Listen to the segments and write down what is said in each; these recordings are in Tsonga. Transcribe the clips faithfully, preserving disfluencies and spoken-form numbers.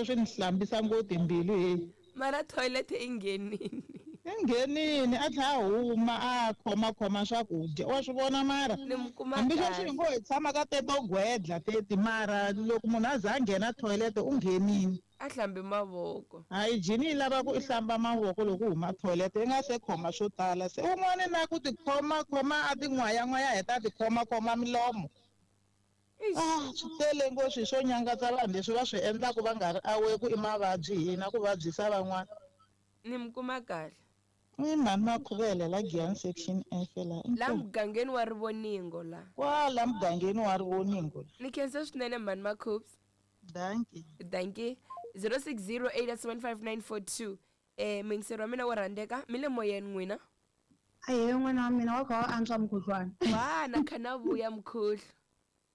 Swi ni hlambisa ngopfu timbilu he. Mara toilet i nghenini. I nghenini a tlhela a huma a khomakhoma swakudya wa swi vona mara. Ni mi kuma Hambi sweswi hi kahle. ngo hi tshama ka teto gwedla teti mara loko munhu a za a nghena toilet u nghenini. A hlambi mavoko. Hygiene yi lava ku i hlamba mavoko loko u huma toilet i nga se khoma swo tala se un'wana na ku tikhoma khoma a tin'wayan'waya heta a tikhoma khoma milomo. Eish. Ah, swi tele ngopfu swilo swo nyangatsa vanhu leswi va swi endlaku va nga ri aware ku i mavabyi hina ku vabyisa van'wana. Ni mi kuma kahle. I mhani Makhuvele la Giyani section F la. La Inkomu. mugangeni wa Rivoningo la. Kwala mugangeni wa Rivoningo la. Ni khensa swinene mhani Makhubs. Dankie. Dankie. zero six zero eight seven five nine four two. Eh mingiseri wa mina wo rhandzeka mi le moyeni n'wina. Ahee n'wana wa mina wa kha wa antswa mukhuhlwani. Wa na kha na vuya mukhuhlu.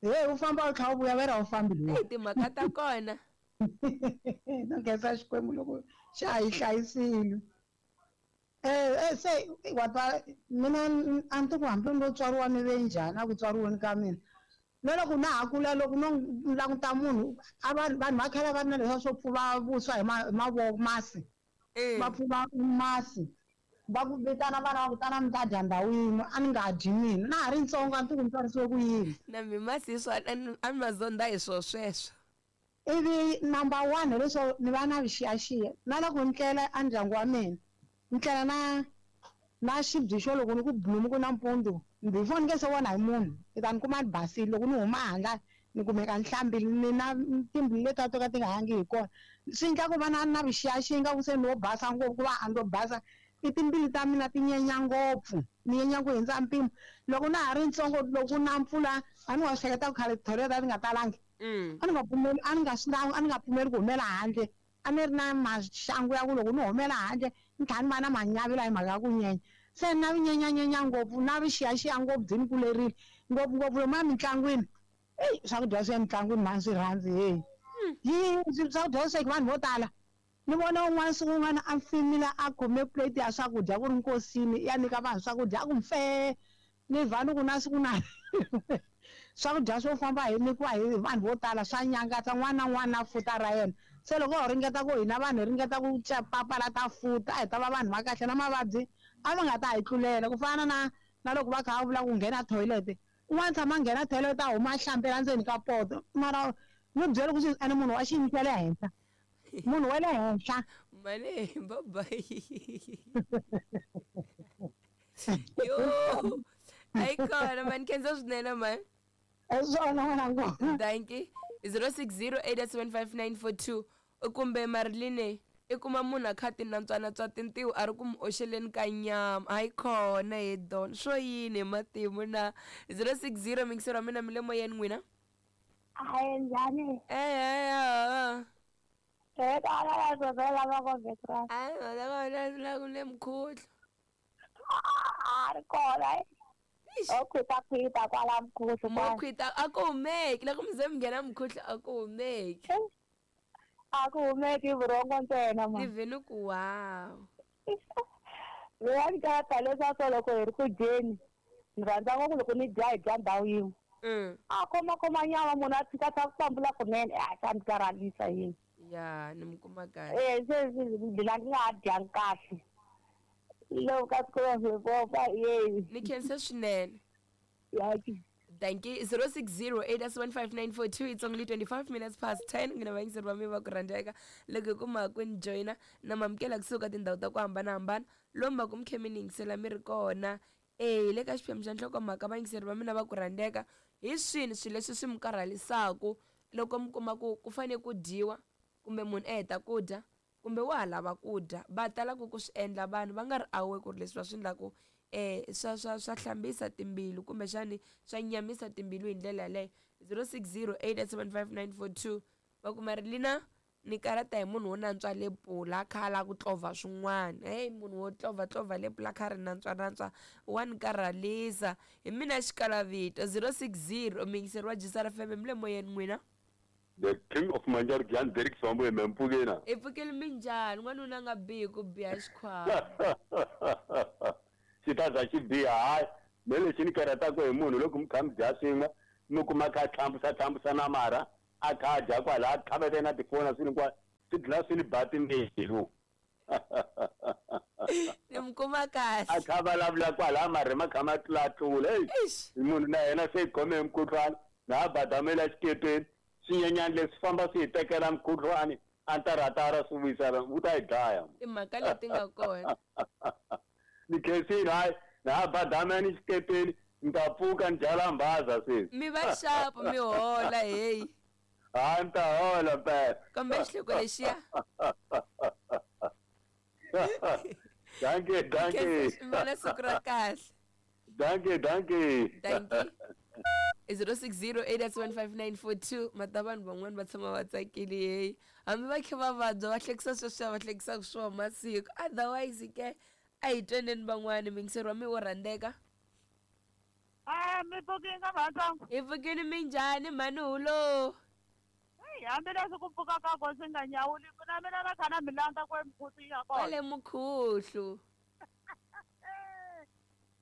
Hey u famba u tlha u vuya vera u fambi luya. Hey timhaka ta kona. No khensa Xikwembu loko xa ha yi hlayisile. Eh eh se wa twa mina a ni tivi ku hambi no tswariwa ni ve njhani a ku tswariweni ka mina. Na loko na ha kula loko no languta munhu a va vanhu va khale va ri na leswiya swo pfuva vuswa hi ma hi mavoko masi. Va Mm. pfuva masi. Va ku vitana vana va ku tana mi ta dya ndhawu yin'we a ni nga dyi mina na ha ri ntsongo a ni tivi ku ni tswarisiwe ku yini. Na mi masi hi swona a ni a ni ma zonda hi swo sweswo. Ivi number one hileswo ni va na vuxiyaxiya na loko ni tlela a ndyangu wa mina ni tlela na na xibye xo loko ni ku blum ku nampundzu before ni nge se vona hi munhu ni ta ni kuma ni basile loko ni huma handle ni kumeka ni hlambile ni na timbilu letiya to ka ti nga hangi hi kona swi endla ku va na na vuxiyaxiya ingaku se no basa ngopfu ku va a ni lo basa i timbilu ta mina ti nyenya ngopfu ni nyenya ku hundza mpimo loko na ha ri ntsongo loko na mpfula a ni wa swi hleketa ku khale tithoyileti a ti nga talangi Mm. a ni nga pfumeli a ni nga swi a ni nga pfumeli ku humela handle a ni ri na maxangu ya ku loko ni humela handle ni tlhela ni va na manyavila hi mhaka ya ku nyenya se na vinyenyanyenya ngopfu na vuxiyaxiya ngopfu byi ni kulerile ngopfungopfu lomuya mintlangwini eyi swakudya swa emitlangwini mhani swi rhandzi heyi yi swakudya swi sweki vanhu vo tala ni vona un'wana siku un'wana a fimile a khome plate ya swakudya ku ri nkosini ya nyika vanhu swakudya a ku mfe ni vha ni ku na siku na swakudya swo famba hi nyikiwa hi vanhu vo tala swa nyangatsa n'wana na n'wana na futa ra yena se loko ho ringeta ku hina vanhu hi ringeta ku papalata futa a hi ta va vanhu va kahle na mavabyi a va nga ta hi tlulela ku fana na na loko va kha va vula ku nghena toilet un'wana tshama a nghena toilet a huma a hlambela ndzeni ka poto mara ni byele ku ene munhu wa xiyimo xa le henhla munhu wa le henhla Mane bye bye. Yo. Ayi khona mani khensa swinene mani. hi swona n'wana ngoma Dankie. zero six zero eight seven five nine four two kumbe Marline i kuma munhu a kha ti nantswanantswa tintiho a ri ku mu oxeleni ka nyama hayi khona he don swo yini hi matimu na zero six zero mingiseri wa mina mi le moyeni n'wina. Hayi njhani? Eh Eh tala la zozela va ko vetra. eh eh la ku le mukhuhlu. A ri kona. Eish. O khwita khwita kwala mkhuhlu Mo kwala. khwita a ku humeki loko mi ze mi nghena mukhuhlu a ku humeki. A ku humeki vurhongo ntsena Ni ma. vhe ni ku wow. Mina ni karata leswaku loko hi ri ku dyeni ni rhandza ngopfu loko ni dya hi dya ndhawu yin'we. Mm. A khoma khoma nyama munhu a tshika tshika ku pambula kunene a swa ni karhalisa yini. Ya ni mi kuma kahle. Eh se mina ni nga ha dyangi kahle. Loko ka siku ra swibofa yeyi. Ni khensa swinene. Yaki. Thank you. zero six zero eight seven five nine four two. It's only twenty-five minutes past ten. N'wina vayingiseri va mina va ku rhandzeka loko hi kuma ku ni joyina na mamukela kusuka tindhawu ta ku hambanahambana lomu va ku mi khe mi ni yingisela mi ri kona. Eh le ka xiphemu xa nhlokomhaka vayingiseri va mina va ku rhandzeka hi swini swilo leswi swi mi karhalisaku loko mi kuma ku ku fane ku dyiwa kumbe munhu a heta ku dya kumbe wa ha lava ku dya va talaka ku swi endla vanhu va nga ri aware ku ri leswi va swi endlaku eh swa swa swa hlambisa timbilu kumbexani swa nyamisa timbilu hi ndlela yaleyo zero six zero eight seven five nine four two va kuma ri lina ni karata hi munhu wo nantswa lepula a kha a lava ku tlovha swin'wana hey munhu wo tlovha tlovha lepula a kha a ri nantswa nantswa wa ni karhalisa hi mina xikalavito zero six zero muyingiseri wa G S R F M mi le moyeni n'wina. The king of Manjaro Gyan Derek Sambo Mempugena. I pfukile minjhani n'wanuna a nga bihi ku biha xikhwama. Xi ta za xi biha hayi me lexi ni karhataka hi munhu loko mi kha mi dya swin'we mi kuma kha a tlhambusa tlhambusa na marha a kha a dya kwala a tlhavete na tifoni swilo hinkwaswo Swi dlina swi ni ba timbilu. Ni mi kuma kahle. A kha vulavula kwala marhi ma kha ma tlulatlula. Eish. Munhu na yena se hi khome hi mukhuhlwani na ha badamela xikepeni swinyenyani leswi famba swi hi tekela mukhuhlwani a ntaratara swi vuyisela wu ta hi dlaya. Timhaka leti nga kona. Ni khensile hayi na ha badamela xikepeni ni ta pfuka ni byala mbhaza sweswi. Mi va xapu mi hola heyi. Hayi ni ta hola mpela. Kambe xihloko lexiya. Dankie, dankie. Mi va na siku ra kahle. Dankie, dankie. Dankie. zero six zero eight one five nine four two mata vanhu van'wani va tshama va tsakile heyi hambi va kha va vabya va hlekisa sweswiya va hlekisaka swona masiku otherwise ke a hi tweneni van'wani mingiseri wa mi wo rhandzeka. A mi pfukini ka mhantsongo. Hi pfukini minjhani mhani hulo? Hey, hambileswi ku pfuka ka ko swi nga nyawuli ku na mina na kha na mi landza kwe mukhuhlu ya kona. Kwale mukhuhlu.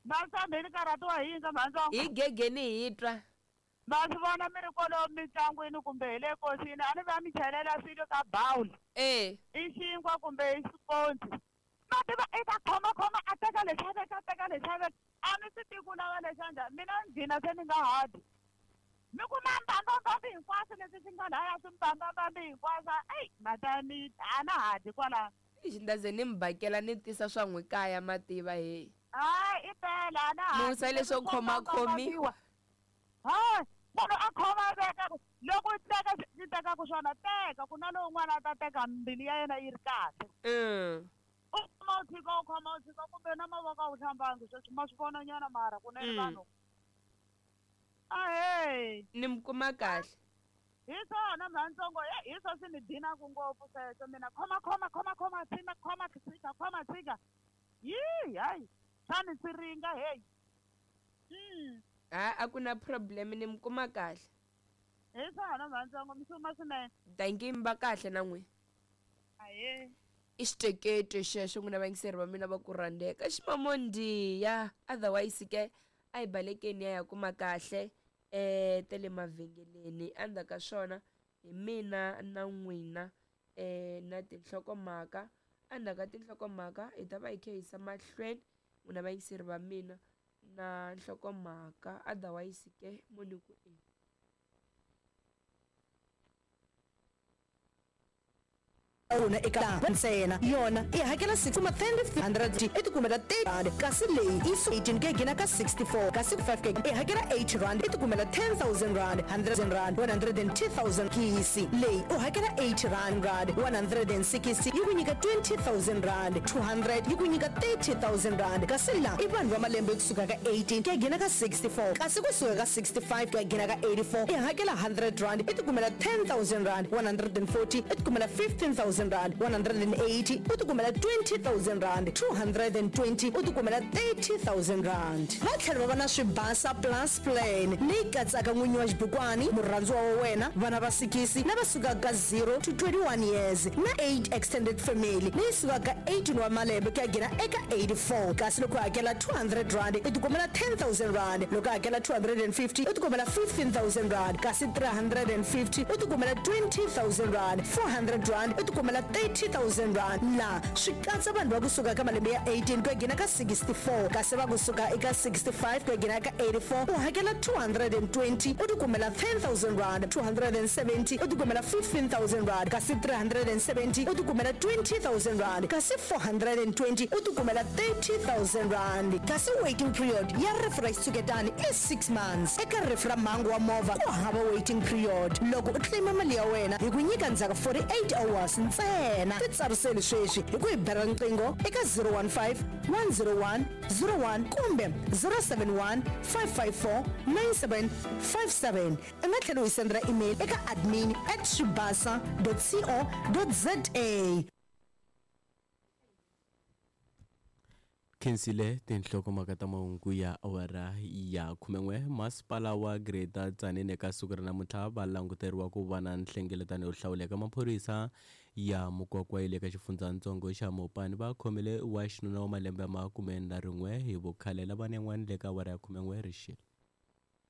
Masambe ni karhatiwa hi yini ka mhantsongo? Hi gegeni hi twa. Ma swi vona mi ri kwalomu mintlangwini kumbe hi le nkosini a ni va mi chelela swilo ka bawuli. E. I xinkwa kumbe i xiponci. Ma tiva i ta khomakhoma a teka lexi a veka a teka lexi a veka. A ni swi tivi ku lava lexa njhani mina ni gcina se ni nga ha dyi. Mi kuma mbambambambi hinkwaswo leswi swi nga laya swi mbambambambi hinkwaswo eyi mata mi a na ha dyi kwalano. Ixi ni ta ze ni mi bakela ni tisa swa n'wi kaya ma tiva heyi. Hayi i pela a na ha dyi. Musa leswo khomakhomiwa. Hayi munhu a khoma a veka ku loko u teka swi tekaku swona teka ku na lowun'wana a ta teka mbilu ya yena yi ri kahle. Mm. U khoma u tshika u khoma u tshika kumbe na mavoko a wu hlambangi sweswi ma swi vona nyana mara kunene vanhu. Ahee. Ni mi kuma kahle. Hi swona mhantsongo hi swo swi ni dinaku ngopfu sweswo mina khoma khoma khoma khoma tshika khoma tshika khoma tshika. Yii hayi swa ni siringa heyi. Mm. Ha a ku na problem ni mi kuma kahle. Hi swona mhantsongo mi suma swinene. Dankie mi va kahle na n'wina. Ahee. I xitekete xexo n'wina vayingiseri va mina va ku rhandzeka ximamondiya otherwise ke a hi balekeni ya ya kuma kahle eh ta le mavhengeleni endzhaku ka swona hi mina na n'wina eh na tinhlokomhaka endzhaku ka tinhlokomhaka hi ta va hi kha hi yisa mahlweni n'wina vayingiseri va mina na nhlokomhaka otherwise ke mo ni ku e. Rona eka ntsena yona i hakela six kuma ten hundred i tikumela thirty rand kasi leyi i eighteen ke gina ka sixty-four kasi five ke i hakela eight rand i tikumela ten thousand rand hundred rand one hundred and two thousand kisi leyi u hakela eight rand rand one hundred and sixty yi ku nyika twenty thousand rand two hundred yi ku nyika thirty thousand rand kasi la i vanhu va malembe kusuka ka eighteen ke gina ka sixty-four kasi kusuka ka sixty-five ke gina ka eighty-four i hakela hundred rand i tikumela ten thousand rand one hundred and forty i tikumela fifteen thousand rand one hundred and eighty u tikumela twenty thousand rand two hundred and twenty u tikumela thirty thousand rand. Va tlhela va va na Swibasa Plus Plan leyi katsaka n'winyi wa xibukwani murhandziwa wa wena vana va sikisi lava sukaka ka zero to twenty-one years na eight extended family leyi sukaka eighteen wa malembe ku ya nghena eka eighty-four kasi loko u hakela two hundred rand u tikumela ten thousand rand loko u hakela two hundred and fifty u tikumela fifteen thousand rand kasi three hundred and fifty u tikumela twenty thousand rand four hundred rand u tikumela thirty thousand rand. La swi katsa vanhu va kusuka ka malembe ya eighteen ku ya nghena ka sixty-four kasi va kusuka eka sixty-five ku ya nghena ka eighty-four u hakela two hundred and twenty u tikumela ten thousand rand two hundred and seventy u tikumela fifteen thousand rand kasi three hundred and seventy u tikumela twenty thousand rand kasi four hundred and twenty u tikumela thirty thousand rand kasi waiting period ya rifu ra xitshuketani i six months. Eka rifu ra mhangu wa movha ku hava waiting period loko u claima mali ya wena hi ku nyika ndzhaku forty-eight hours ntsena. Titsariseli sweswi hi ku hi bela riqingho eka zero one five one zero one zero one kumbe zero seven one five five four nine seven five seven. U nga tlhela u hi sendela email eka admin at swibasa dot co dot za. Khensile tinhlokomhaka ta mahungu ya awara ya khumen'we. Masipala wa Greater Tzaneen eka siku ra namuntlha va languteriwa ku va na nhlengeletano yo hlawuleka. Maphorisa ya Mukwakwa ya le ka xifundzatsongo xa Mopani va khomile wa xinuna wa malembe ya makume na rin'we hi vukhale lava yan'wana le ka awara ya khumen'we rixile.